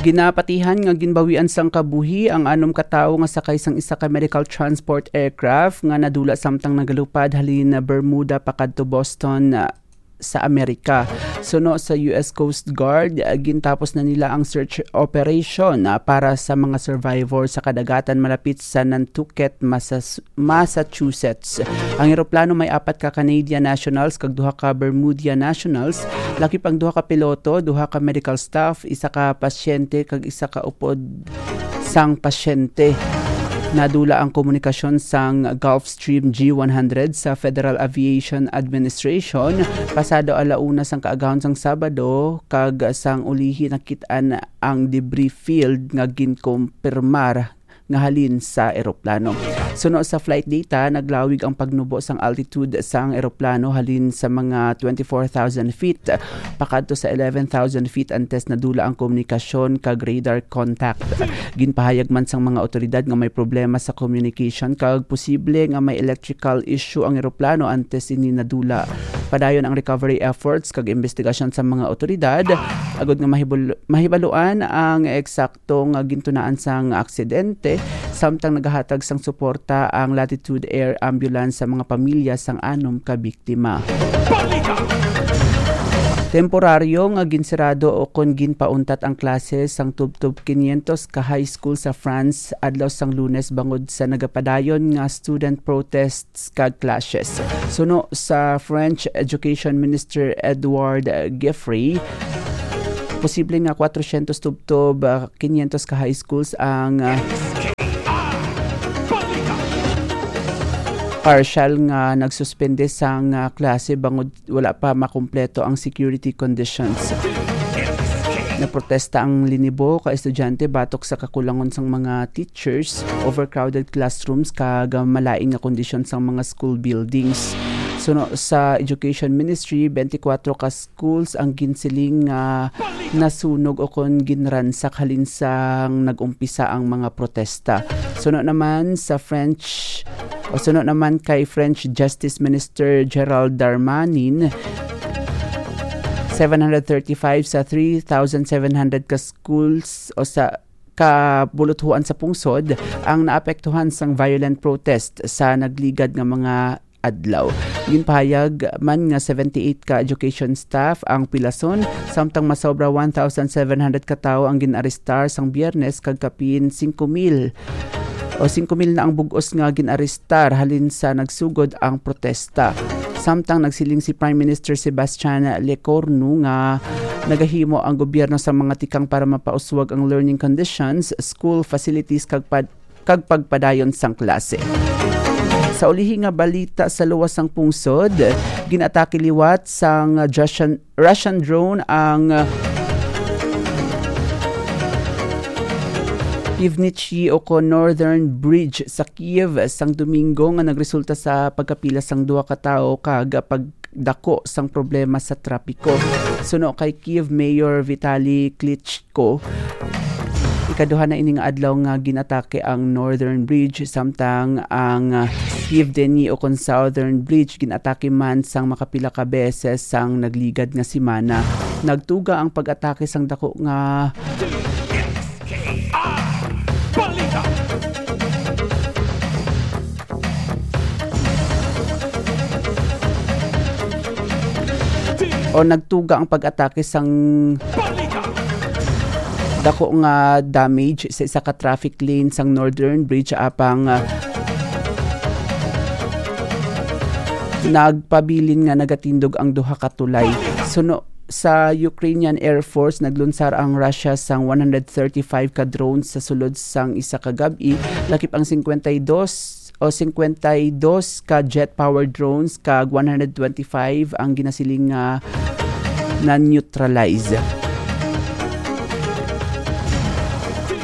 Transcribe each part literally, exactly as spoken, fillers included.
Ginapatihan nga ginbawian sang kabuhi ang anom ka tawo nga sakay sang isa ka medical transport aircraft nga nadula samtang nagalupad halin Bermuda pakadto Boston, ah, sa Amerika. Suno sa U S Coast Guard, ah, gintapos na nila ang search operation, ah, para sa mga survivor sa kadagatan malapit sa Nantucket, Masas-, Massachusetts. Ang eroplano may apat ka Canadian nationals kag duha ka Bermudian nationals, lakip ang duha ka piloto, duha ka medical staff, isa ka pasyente kag isa ka upod sang pasyente. Nadula ang komunikasyon sang Gulfstream G one hundred sa Federal Aviation Administration pasado ala una sang kaagahon sang Sabado, kag sang ulihi nakit-an ang debris field nga ginkumpirmar nga halin sa eroplano. Suno sa flight data, naglawig ang pagnubo sang altitude sang eroplano halin sa mga twenty-four thousand feet pakadto sa eleven thousand feet antes nadula ang komunikasyon kag radar contact. Ginpahayag man sang mga awtoridad nga may problema sa communication kag posible nga may electrical issue ang eroplano antes ini nadula. Padayon ang recovery efforts kag investigasyon sa mga awtoridad agod nga mahibul-, mahibaluan ang eksakto nga gintunaan sang aksidente, samtang nagahatag sang suporta ang Latitude Air Ambulance sa mga pamilya sang anom ka biktima. Temporaryo nga ginsirado o kon ginpauntat ang klase sang tubtob quinientos ka high school sa France adlaw sang Lunes bangod sa nagapadayon nga student protests kag clashes. Suno sa French Education Minister Edouard Giffrey, posible nga kwatrocientos tubtob, ah, quinientos ka high schools ang, ah, partial nga nagsuspende sang, ah, klase bangod wala pa makumpleto ang security conditions. Naprotesta ang linibo ka estudyante batok sa kakulangon sang mga teachers, overcrowded classrooms, kag malain nga kondisyon sang mga school buildings. Suno sa Education Ministry, twenty-four ka schools ang ginsiling nga nasunog o kon ginransak halin sang nag-umpisa ang mga protesta. Suno naman sa French, o suno naman kay French Justice Minister Gerald Darmanin, seven hundred thirty-five sa three thousand seven hundred ka schools o sa kabuluthuan sa pungsod ang naapektuhan sang violent protest sa nagligad nga mga adlaw. Ginpahayag man nga seventy-eight ka education staff ang pilason, samtang masobra one thousand seven hundred ka tawo ang gin-arestar sang Biyernes kag kapin singko mil o singko mil na ang bug-os nga gin-arestar halin sa nagsugod ang protesta. Samtang nagsiling si Prime Minister Sebastian Lecornu nga nagahimo ang gobyerno sa mga tikang para mapauswag ang learning conditions, school facilities kag pad-, kag pagpadayon sang klase. Sa ulihi nga balita sa luwas sang pungsod, ginatake liwat sang Russian, Russian drone ang Pivnichi o kon Northern Bridge sa Kiev sang Domingo nga nagresulta sa pagkapila sang duha ka tawo kag pagdako sang problema sa trapiko. Suno kay Kiev Mayor Vitali Klitschko, ikaduha na ini nga adlaw nga ginatake ang Northern Bridge, samtang ang, ah, Pivdeni o kon Southern Bridge ginatake man sang makapila ka beses sang nagligad nga semana. Nagtuga ang pag-atake sang dako nga o nagtuga ang pag-atake sang dako nga damage sa isa ka traffic lane sang Northern Bridge, apang, ah, nagpabilin nga nagatindog ang duha ka tulay. Suno sa Ukrainian Air Force, naglunsar ang Russia sang one hundred thirty-five ka drones sa sulod sang isa ka gab-i, lakip ang cincuenta y dos o cincuenta y dos ka jet-powered drones kag one hundred twenty-five ang ginasiling nga na-neutralize.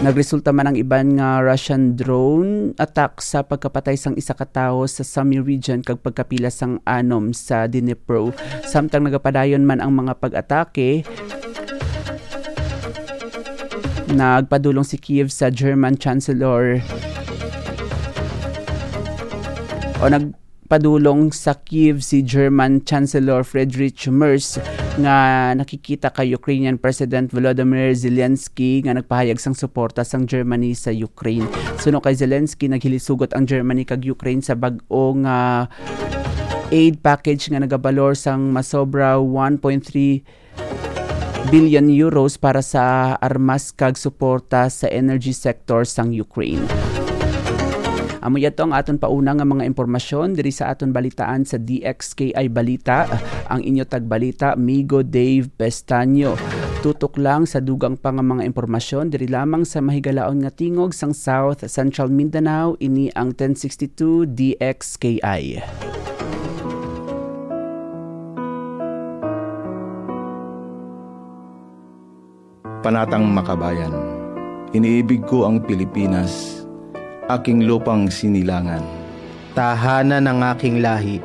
Nagresulta man ang iban nga Russian drone attack sa pagkapatay sang isa ka tawo sa Sumy region kag pagkapila sang anom sa Dnipro. Samtang nagapadayon man ang mga pag-atake, nagpadulong si Kiev sa German Chancellor o nag-, nagpadulong sa Kyiv si German Chancellor Friedrich Merz nga nakikita kay Ukrainian President Volodymyr Zelensky nga nagpahayag sang suporta sang Germany sa Ukraine. Suno kay Zelensky, naghilisugot ang Germany kag Ukraine sa bag-o nga aid package nga nagabalor sang masobra one point three billion euros para sa armas kag suporta sa energy sector sang Ukraine. Amo yato ang aton pauna nga mga impormasyon diri sa aton balitaan sa D X K I Balita. Ang inyo tagbalita, Migo Dave Pestaño. Tutok lang sa dugang pa nga mga impormasyon diri lamang sa mahigalaon nga tingog sang South Central Mindanao. Ini ang ten sixty-two D X K I. Panatang Makabayan. Iniibig ko ang Pilipinas, aking lupang sinilangan. Tahanan ng aking lahi.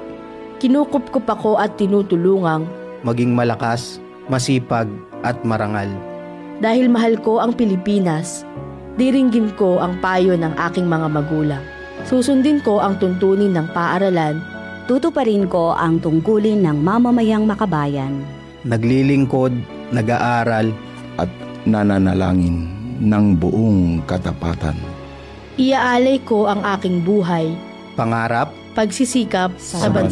Kinukupkop ako at tinutulungang maging malakas, masipag, at marangal. Dahil mahal ko ang Pilipinas, diringgin ko ang payo ng aking mga magulang. Susundin ko ang tuntunin ng paaralan. Tutuparin ko ang tungkulin ng mamamayang makabayan. Naglilingkod, nag-aaral, at nananalangin ng buong katapatan. Iaalay ko ang aking buhay, pangarap, pagsisikap sa Sa bansa.